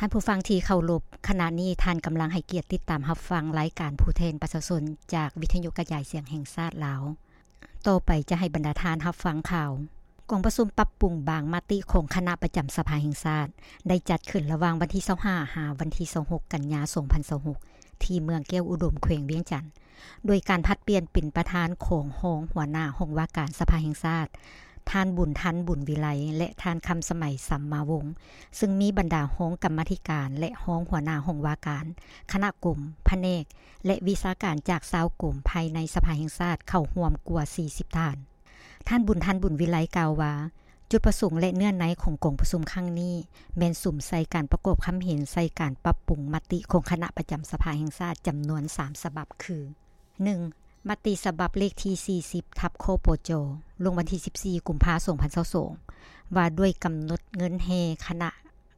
ທ່ານຜູ້ຟັງທີ່ເຄົາລົບ, ຂະນະນີ້ທ່ານກຳລັງໃຫ້ກຽດຕິດຕາມຮັບຟັງລາຍການຜູ້ແທນປະຊາຊົນຈາກວິທະຍຸກະຈາຍສຽງແຫ່ງຊາດລາວ. ຕໍ່ໄປຈະໃຫ້ບັນດາທ່ານຮັບຟັງຂ່າວ. ກອງປະຊຸມປັບປຸງບາງມະຕິຂອງຄະນະປະຈຳສະພາແຫ່ງຊາດ ໄດ້ຈັດຂຶ້ນລະຫວ່າງວັນທີຊາວຫ້າ ຫາວັນທີຊາວຫົກ ກັນຍາ ສອງພັນຊາວຫົກ ທີ່ເມືອງແກ້ວອຸດົມ ແຂວງວຽງຈັນ. ໂດຍການຜັດປ່ຽນເປັນປະທານຂອງຮອງຫົວໜ້າຫ້ອງວ່າການສະພາແຫ່ງຊາດ, ທ່ານ ບຸນທັນ ບຸນວິໄລ ແລະ ທ່ານ ຄຳສະໄໝ ສຳມາວົງ, ຊຶ່ງມີບັນດາຮອງກຳມາທິການ ແລະ ຮອງຫົວໜ້າຫ້ອງວ່າການ, ຄະນະກົມ, ພະແນກ ແລະ ວິຊາການຈາກຊາວກົມພາຍໃນສະພາແຫ່ງຊາດເຂົ້າຮ່ວມກວ່າສີ່ສິບທ່ານ. ທ່ານ ບຸນທັນ ບຸນວິໄລ ກ່າວວ່າ, ຈຸດປະສົງ ແລະ ເນື້ອໃນຂອງກອງປະຊຸມຄັ້ງນີ້ ແມ່ນສຸມໃສ່ການປະກອບຄຳເຫັນໃສ່ການປັບປຸງມະຕິຂອງຄະນະປະຈຳສະພາແຫ່ງຊາດຈຳນວນສາມສະບັບ ຄື ໜຶ່ງ ມະຕິສະບັບເລກທີສີ່ສິບ ທັບ ຄປຈ ລົງວັນທີສິບສີ່ ກຸມພາ ສອງພັນຊາວສອງ ວ່າດ້ວຍກຳນົດເງິນແຮ່ຄະນະ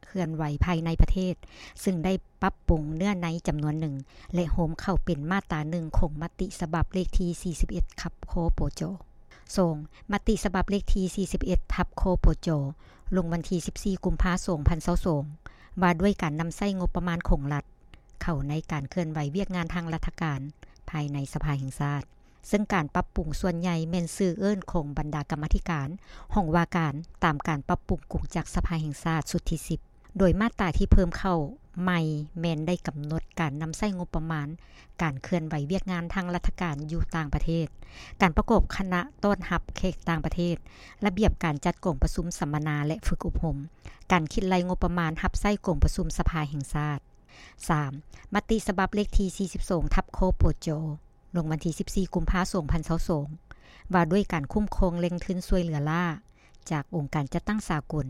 ເຄື່ອນໄຫວພາຍໃນປະເທດ, ຊຶ່ງໄດ້ປັບປຸງເນື້ອໃນຈຳນວນໜຶ່ງ ແລະ ໂຮມເຂົ້າເປັນມາດຕາໜຶ່ງຂອງມະຕິສະບັບເລກທີສີ່ສິບເອັດ ທັບ ຄປຈ. ສອງ ມະຕິສະບັບເລກທີສີ່ສິບເອັດ ທັບ ຄປຈ ລົງວັນທີສິບສີ່ ກຸມພາ ສອງພັນຊາວສອງ ວ່າດ້ວຍການນຳໃຊ້ງົບປະມານຂອງລັດ ເຂົ້າໃນການເຄື່ອນໄຫວວຽກງານທາງລັດຖະການພາຍໃນສະພາແຫ່ງຊາດ, ເຊິ່ງການປັບປຸງສ່ວນໃຫຍ່ແມ່ນຊື່ເອີ້ນຂອງບັນດາກຳມາທິການຫ້ອງວ່າການ ຕາມການປັບປຸງກົງຈັກສະພາແຫ່ງຊາດຊຸດທີສິບ ໂດຍມາດຕາທີ່ເພີ່ມເຂົ້າໃໝ່ແມ່ນໄດ້ກຳນົດການນຳໃຊ້ງົບປະມານ, ການເຄື່ອນໄຫວວຽກງານທາງລັດຖະການຢູ່ຕ່າງປະເທດ, ການປະກອບຄະນະຕ້ອນຮັບແຂກຕ່າງປະເທດ, ລະບຽບການຈັດກອງປະຊຸມສຳມະນາ ແລະ ຝຶກອົບຮົມ, ການຄິດໄລ່ງົບປະມານຮັບໃຊ້ກອງປະຊຸມສະພາແຫ່ງຊາດ. ສາມ ມະຕິສະບັບເລກທີສີ່ສິບສອງ ທັບ ຄປຈ ລົງວັນທີສິບສີ່ ກຸມພາ ສອງພັນຊາວສອງ ວ່າດ້ວຍການຄຸ້ມຄອງແຫຼ່ງທຶນຊ່ວຍເຫຼືອລ້າຈາກອົງການຈັດຕັ້ງສາກົນ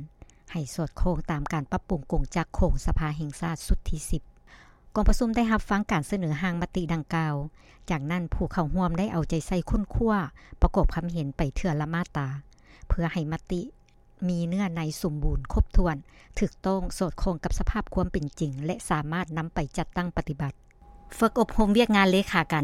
ໃຫ້ສອດຄ່ອງຕາມການປັບປຸງກົງຈັກຂອງສະພາແຫ່ງຊາດຊຸດທີສິບ. ກອງປະຊຸມໄດ້ຮັບຟັງການສະເໜີຮ່າງມະຕິດັ່ງກ່າວ, ຈາກນັ້ນຜູ້ເຂົ້າຮ່ວມໄດ້ເອົາໃຈໃສ່ຄົ້ນຄວ້າປະກອບຄຳເຫັນໄປເທື່ອລະມາດຕາ ເພື່ອໃຫ້ມະຕິ ມີເນື້ອໃນສົມບູນ, ຄົບຖ້ວນ, ຖືກຕ້ອງ, ສອດຄ່ອງກັບສະພາບຄວາມເປັນຈິງ ແລະ ສາມາດນຳໄປຈັດຕັ້ງປະຕິບັດ. ຝຶກອົບຮົມວຽກງານເລຂາການ